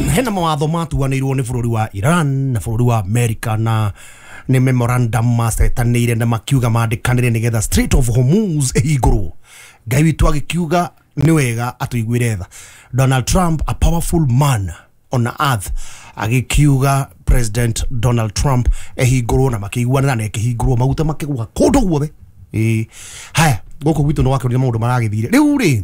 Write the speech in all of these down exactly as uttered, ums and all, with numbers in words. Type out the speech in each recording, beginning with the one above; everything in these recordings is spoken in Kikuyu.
Hena mawatho matuanĩirwo nĩ bũrũri wa Iran na bũrũri wa America na nĩ memorandum macetanĩire na makiuga mandĩkanĩre nĩgetha Strait of Hormuz ĩhingũrwo. Ngai witũ agĩkiuga nĩ wega atũiguĩre tha. Donald Trump, a powerful man on earth, agĩkiuga President Donald Trump ehingũrwo na makĩiguanĩra na ĩkĩhingũrwo maguta makĩgwa kũndũ guothe. Ĩĩ haya gũkũ gwitũ nĩ wakĩonire maũndũ maragĩthire rĩu rĩ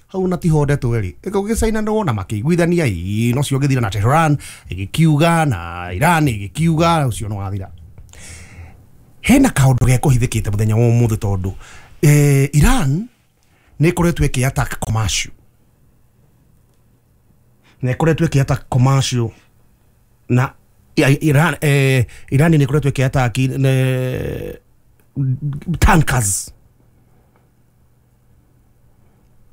hau na tiho ndeto ĩrĩ ĩgũgĩcainanwo na makĩiguithania ĩĩ no cio gĩthira na Tehran ĩgĩkiuga na Iran ĩgĩkiuga ũcio no wathira. Hena kaũndũ gekũhithĩkĩte mũthenya wa ũmũthĩ tondũ eh, Iran nĩ ĩkoretwo ĩkĩ attack commercial nĩ ĩkoretwo ĩkĩ attack commercial na Iran eh, Iran nĩ ĩkoretwo ĩkĩ attack eh, tankers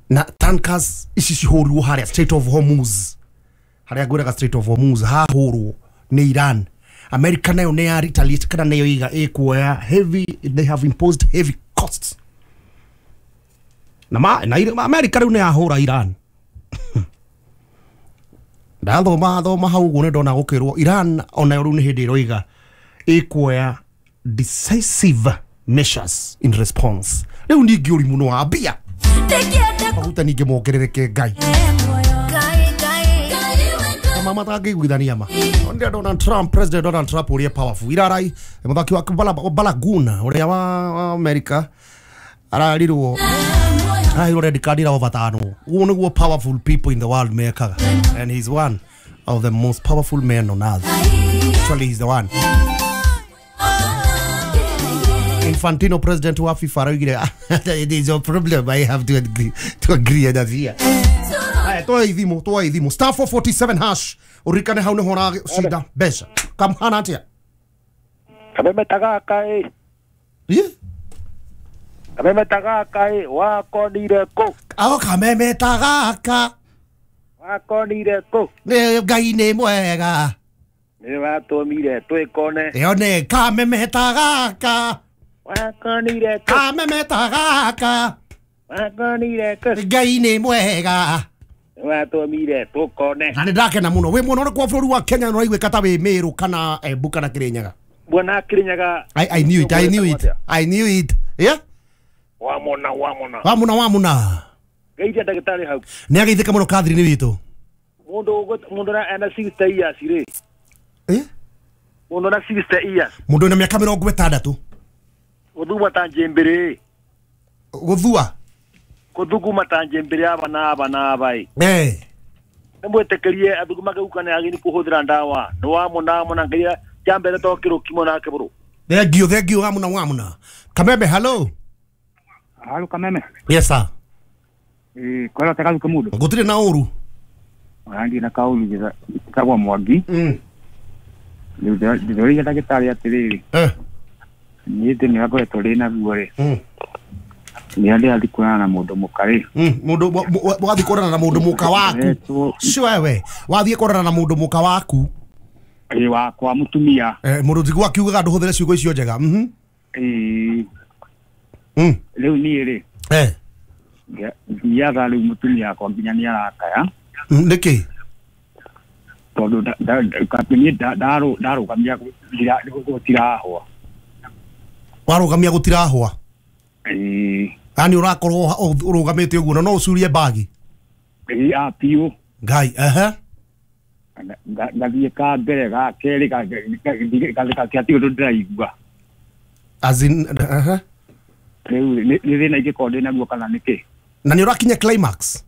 na tankers ici cihũrirwo harĩa Strait of Hormuz harĩa ngwĩraga Strait of Hormuz hahũrwo nĩ Iran. America nayo nĩ ya retaliate kana nayo iga ĩkuoya heavy, they have imposed heavy costs na ma na America rĩu nĩ yahũra Iran. Ndathoma thoma hau ũguo nĩ ndona gũkĩrwo Iran onayo rĩu nĩ hĩndĩ ĩroiga ĩkuoya decisive measures in response. Rĩu ningĩ ũrimũ nĩ wambia maguta ningĩ mongerereke Ngai mama matangĩiguithania ma ndĩrĩa Donald Trump, President Donald Trump ũrĩa powerful irarai mũthaki wa Balogun ũrĩa wa America ararirwo ararirwo red card ira over tano. Ũguo nĩguo powerful people in the world mekaga, and he's one of the most powerful men on earth. Actually he's the one. Infantino, president wa FIFA, araugire it is a problem, I have to agree to agree that here. Aya toa ithimo toa ithimo star four forty-seven hash urikane hau niho ũracinda mbeca kamhana atia kameme tagaka ĩ ĩ kameme tagaka ĩ wakonire kũ ao kameme tagaka wakonire kũ nĩ Ngai nĩ mwega nĩ watũmire twĩkone ĩyo nĩ kameme tagaka wakonire kũ kameme tagaka wakonire kũ Ngai nĩ mwega watũmire tũkone. Na nĩ ndakena mũno wĩ mwena ũrĩkũ wa bũrũri wa Kenya na ũraiguĩka ta wĩ Meru kana Embu kana Kĩrĩnyaga? Bwana Kĩrĩnyaga. I, I knew it, I knew it, I knew it. Yeah? Wamona wamona wamona wamona geithia ndagĩtarĩ hau nĩ ageithĩka mũno Catherine witũ mũndũ mũndũ na ena sixty years rĩ eh mũndũ na sixty years mũndũ na mĩaka mĩrongo ĩtandatũ gũthuma ta njĩmbĩrĩ gũthua kũthuguma ta njĩmbĩrĩ aba na aba na aba ĩ eh nĩ mwĩtĩkĩrie athugumage gũka nĩ agĩrĩirwo kũhũthĩra ndawa nĩ wamona wamona ngeria kĩa mbere to kĩrũkimo nake bũrũ. Thank you, thank you wamona wamona Kameme hello. Halo Kameme. Yes sir. Eh kwara takazu kamudu gũtirĩ na ũru andi na kaulu gĩtagwo Mwangi mm ndĩroria ndagĩtarĩ atĩrĩrĩ eh niĩ ndĩ nĩakoretwo rĩ na ruo rĩ mm nĩ ndĩrathiĩ kuonana na mũndũ mũka rĩ mm mũndũ wathiĩ kuonana na mũndũ mũka waku sure we wathiĩ kuonana na mũndũ mũka waku ĩ wakwa mũtumia eh mũndũ tiguo akiugaga ndũhũthĩre ciugo icio njega mhm ĩ mm rĩu niĩ rĩ eh thiaga rĩu mũtumia wakwa nginya nĩ arakaya nĩkĩ tondũ niĩ ndarũgamia gũtirahwa warũgamia gũtirahwa ĩĩ yani ũrakorwo ũrũgamĩte ũguo na no ũcurie mbagi ĩĩ a biũ Ngai ehe ngathiĩ ka mbere ga kerĩ gatiĩ ũndũ ndĩraigua as in ehe rĩu nĩ thĩna ingĩkorwo ndĩ naguo kana nĩkĩ na nĩ ũrakinya climax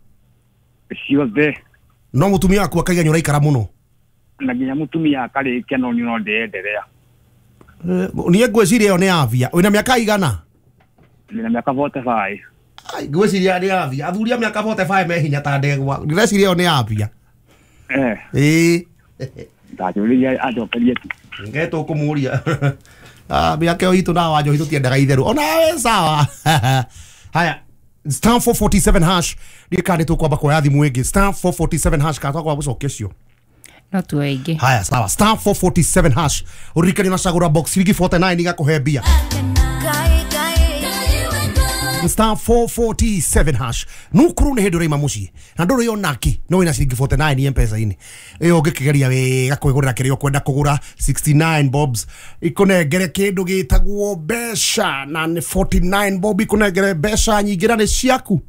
ciothe no mũtumia waku akaiga nĩ ũraikara mũno na nginya mũtumia akarĩkia no no ndĩenderea niĩ ngwĩciria ĩyo nĩ avia wĩna mĩaka igana ndĩna mĩaka forty-five ai ngwĩciria nĩ avia athuri a mĩaka forty-five me hinya ta ndegwa ndĩreciria ĩyo nĩ avia eh ĩĩ ndakĩũria anjokerie tu nge tũkũmũria ah mĩaka ĩyo itũ na wa njohi tũtiendaga itherũ onawe sawa haya star four forty-seven hash ndiĩ kana nĩ tũkwamba kuoya thimũ ĩngĩ star four forty-seven hash kana twakwamba gũcokia cio no tuoe ingĩ haya sawa star four forty-seven hash ũririkane na cagũra box ciringi forty-nine igakũhe mbia Star four forty-seven hash. Nukuru nĩ hĩndĩ ũraima mũciĩ na ndũrĩ onaki no wĩna ciringi forty-nine M-Pesa-inĩ ĩyo ũngĩkĩgeria wega kwĩgũrĩra kĩrĩa ũkwenda kũgũra sixty-nine bobs ikũnengere kĩndũ gĩtagwo mbeca na nĩ forty-nine bob ikũnengere mbeca nyingĩ na nĩ ciaku.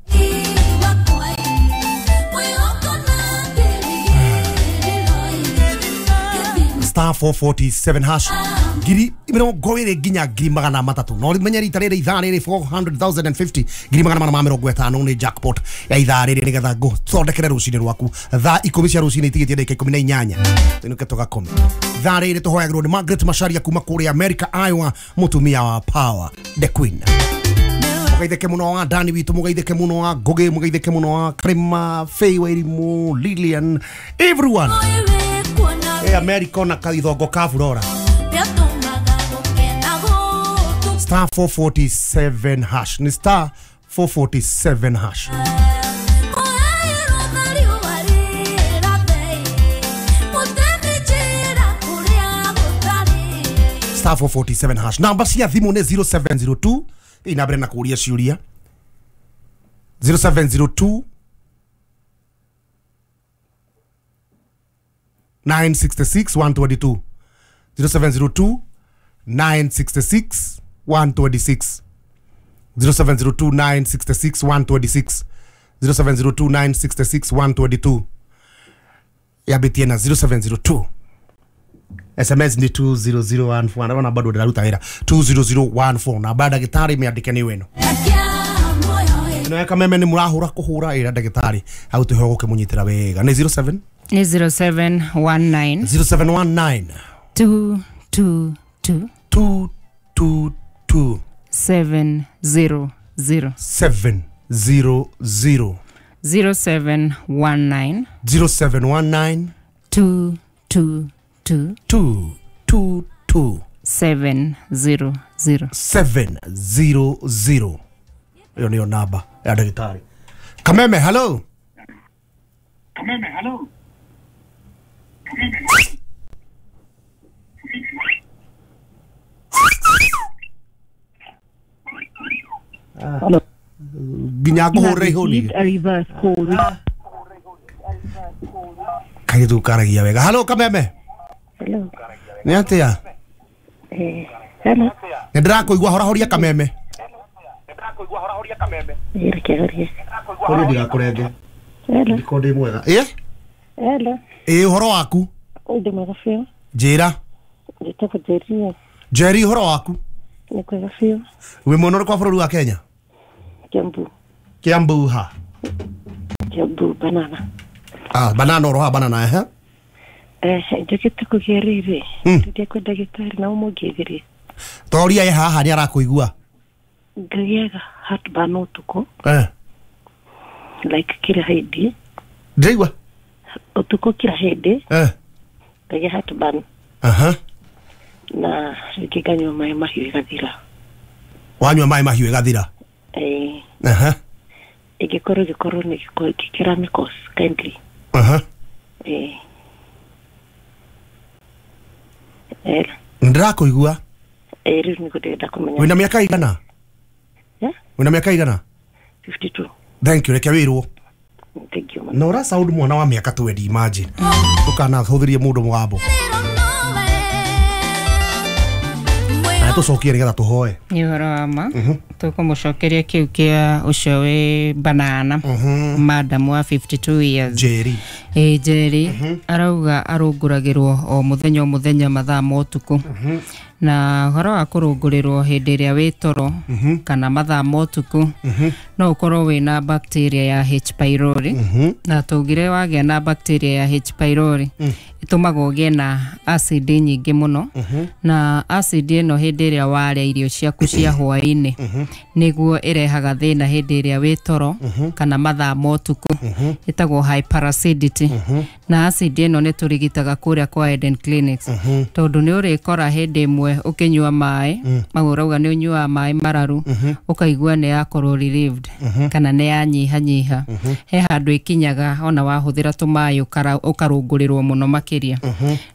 Star four forty-seven hash ngiri mĩrongo ĩrĩ nginya ngiri magana matatũ no menye rita rĩrĩ ithaa rĩrĩ four hundred thousand and fifty ngiri magana mana ma mĩrongo ĩtano nĩ jackpot ya ithaa rĩrĩ nĩgetha ngũthondekere rũcinĩ rwaku thaa ikũmi cia rũcinĩ itigĩtie ndagĩka ikũmi na inyanya tũinũke tũgakome. Thaa rĩrĩ tũhoyagĩrwo nĩ Margaret Macharia kuma kũrĩa America, Iowa, mũtumia wa Power the Queen. Mũgeithĩke mũno wa Dani witũ, mũgeithĩke mũno wa Ngũgĩ, mũgeithĩke mũno wa Karima, Faye Wairimu, Lilian, everyone. Hey, America na kaithongo ka Furora. Star four forty-seven hash. Ni star four forty-seven hash. Star four forty-seven hash. Namba cia thimu ni zero seven zero two. Ina na kuuria ciuria. zero seven zero two nine sixty-six one twenty-two. zero seven zero two nine sixty-six one twenty-six. zero seven zero two nine sixty-six one twenty-six. zero seven zero two nine sixty-six one twenty-two. Yabitie na zero seven zero two. S M S ni two zero zero one four. Ndabona bado ndiraruta wira two zero zero one four na baada ndagĩtarĩ mĩandĩke nĩ weno. Ĩno ya kameme nĩ mũrahũra kũhũra ĩra ndagĩtarĩ hau tũheo gũkĩmũnyitĩra wega. Nĩ zero seven Ni zero seven one nine zero seven one nine two two two two two two seven zero zero seven zero zero zero seven one nine zero seven one nine two two two two two two seven zero zero seven zero zero. Hiyo ndio namba ya daktari. Kameme, hello. Kameme, hello. Hello. Nginya ngũhũrĩre ihũni. Kairĩtu karagia wega. Hello Kameme. Hello. Nĩ atĩa? Eh, hello. Nĩ ndĩrakũigua horahoria Kameme. Horia ndigakũrenge. Hello. Ndiko ndĩ mwega. Ĩ? Hello. Ĩ ũhoro waku? Ndĩ mwega biũ. Njĩra. Njĩtagwo Njeri. Njeri ũhoro waku? Nĩ kwega biũ. Wĩ mwena ũrĩkũ wa bũrũri wa Kenya? Kiambu. Kiambu ha? Kiambu banana. Ah, banana oro ha banana eh? Eh, njũkĩte kũgĩa rĩrĩ. Ndĩrĩa kwa ndagĩtarĩ na ũmũngeithĩrie. Toria ye haha nĩ arakũigua. Ngĩaga heartburn ũtukũ. Eh. Like kila hĩndĩ. Ndĩraigua? Ũtukũ kila hĩndĩ. Eh. Ngagĩa heartburn. Aha. Na rĩngĩ nganyua maĩ mahiũ ĩgathira. Wanyua maĩ mahiũ ĩgathira? Eh. Aha. Ĩngĩkorwo ĩgĩkorwo nĩ gĩkĩra kindly. Aha. Eh. Eh. Ndĩrakũigua. Eh, rĩu nĩguo ndĩrenda kũmenya. Wĩna mĩaka igana? Yeah? Wĩna mĩaka igana? fifty-two. Thank you, reke wĩrwo. Thank you. Na ũra sound mwana wa mĩaka twenty, imagine. Ndũkanahũthĩrie mũndũ mũgambo. Na tũcokie nĩgetha tũhoe. Nĩ ũhoro wa ma. Tũkũmũcokeria kĩu kĩa ũcio wĩ banana. Madam wa fifty-two years. Njeri. Ĩ Njeri arauga arũngũragĩrwo o mũthenya o mũthenya mathaa ma ũtukũ. Na ũhoro wa kũrũngũrĩrwo hĩndĩ ĩrĩa wĩ toro kana mathaa ma ũtukũ no ũkorwo wĩna bacteria ya H pylori. Na tũgire wagĩa na bacteria ya H pylori ĩtũmaga ũgĩe na acid nyingĩ mũno. Na acid ĩno hĩndĩ ĩrĩa warĩa irio ciaku cia hwaĩ-inĩ nĩguo ĩrehaga thĩna hĩndĩ ĩrĩa wĩ toro kana mathaa ma ũtukũ. Ĩtagwo hyperacidity. Na acid ĩno nĩ tũrigitaga kũrĩa kwa Eden Clinics, tondũ nĩ ũrĩkora hĩndĩ ĩmwe ũkĩnyua maĩ mau ũrauga nĩ ũnyuaga maĩ mararu, ũkaigua nĩ yakorwo relieved kana nĩ yanyihanyiha. He handũ ĩkinyaga ona wahũthĩra tũmaĩ ũkara- ũkarũngũrĩrwo mũno makĩria.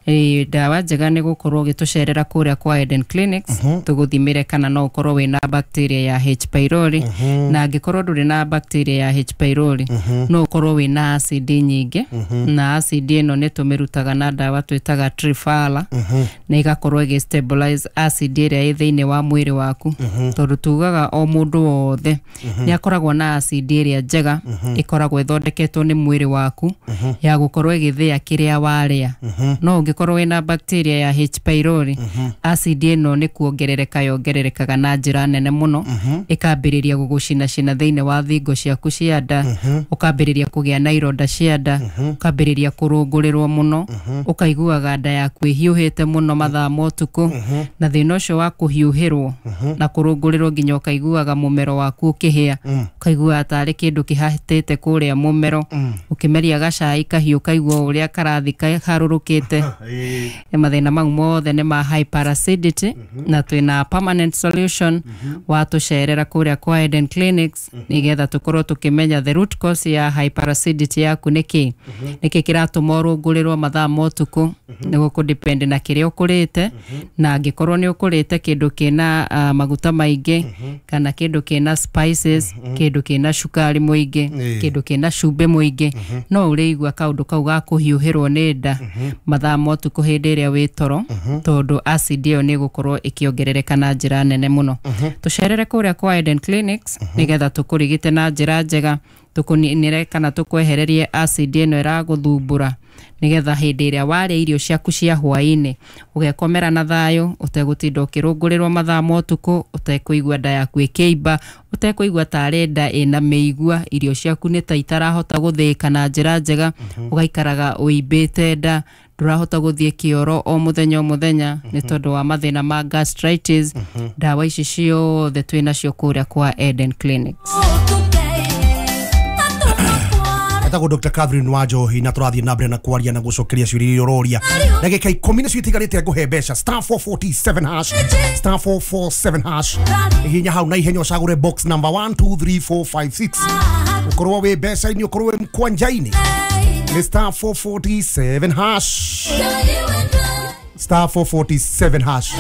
Ĩ, ndawa njega nĩ gũkorwo ũgĩtũcerera kũrĩa kwa Eden Clinics, tũgũthimĩre kana no ũkorwo wĩna bacteria ya H pylori, na angĩkorwo ndũrĩ na bacteria ya H pylori, no ũkorwo wĩna acid nyingĩ, na acid ĩno nĩ tũmĩrutaga na ndawa twĩtaga Triphala, na ĩgakorwo ĩgĩ stabilize acid ĩrĩa ĩ thĩinĩ wa mwĩrĩ waku, tondũ tugaga o mũndũ wothe nĩ akoragwo na acid ĩrĩa njega ĩkoragwo ĩthondeketwo nĩ mwĩrĩ waku ya gũkorwo ĩgĩthĩa kĩrĩa warĩa. No ũngĩkorwo wĩna bacteria ya H pylori, acid ĩno nĩ kuongerereka yongererekaga na njĩra nene mũno, ĩkambĩrĩria gũgũcinacina thĩinĩ wa thingo ciaku cia nda, ũkambĩrĩria kũgĩa na ironda cia nda, ũkambĩrĩria kũrũngũrĩrwo mũno, ũkaiguaga nda yaku ĩhiũhĩte mũno mathaa ma ũtukũ. Na thĩna ũcio wa kũhiũhĩrwo na kũrũngũrĩrwo nginya ũkaiguaga mũmero waku ũkĩhĩa, ũkaiguaga tarĩ kĩndũ kĩhatĩte kũrĩa mũmero, ũkĩmeria gacai kahiũ ũkaigua ũrĩa karathi kaharũrũkĩte. Mathĩna mau mothe nĩ ma hyperacidity, na twĩna permanent solution watũcerera kũrĩa kwa Eden Clinics, nĩgetha tũkorwo tũkĩmenya the root cause ya hyperacidity yaku nĩ kĩ, nĩkĩ kĩratũma ũrũngũrĩrwo mathaa ma ũtukũ. Nĩ gũkũ na kĩrĩa ũkũrĩte, na angĩkorwo nĩ ũkũrĩte kĩndũ kĩna uh, maguta maingĩ, kana kĩndũ kĩna spices, kĩndũ kĩna cukari mũingĩ, kĩndũ kĩna cumbĩ mũingĩ, no ũrĩigua kaũndũ kau ga kũhiũhĩrwo nĩ nda mathaa ma ũtukũ hĩndĩ ĩrĩa wĩ toro, tondũ acid ĩyo nĩ ĩgũkorwo ĩkĩongerereka na njĩra nene mũno. Tũcerere kũrĩa kwa Eden Clinics nĩgetha tũkũrigite na njĩra njega, tũkũninĩre kana tũkwehererie acid ĩno ĩragũthumbũra, nĩgetha hĩndĩ ĩrĩa warĩa irio ciaku cia hwaĩ-inĩ ũgekomera na thayũ, ũtegũtinda ũkĩrũngũrĩrwo mathaa ma ũtukũ, ũtekũigua nda yaku ĩkĩimba, ũtekũigua tarĩ nda ĩna mĩigua, irio ciaku nĩ ta itarahota gũthĩĩka na njĩra njega, ũgaikaraga ũimbĩte nda, ndũrahota gũthiĩ kĩoro o mũthenya o mũthenya nĩ tondũ wa mathĩna ma gastritis. Ndawa ici ciothe twĩnacio kũrĩa kwa Eden Clinics. Etagwo Doctor Catherine Wanjohi, na tũrathiĩ na mbere na kwaria na gũcokeria ciũria iria ũroria. Ndagĩka ikũmi nĩcio itigarĩte ngũhe mbeca. Star four forty-seven hash, star four four seven hash. Hihinya hau na ihenya ũcagũre box number one two three four five six. Ũkorwo wĩ mbeca-inĩ, ũkorwo wĩ mkwanja-inĩ, nĩ star four forty-seven hash, star four forty-seven hash.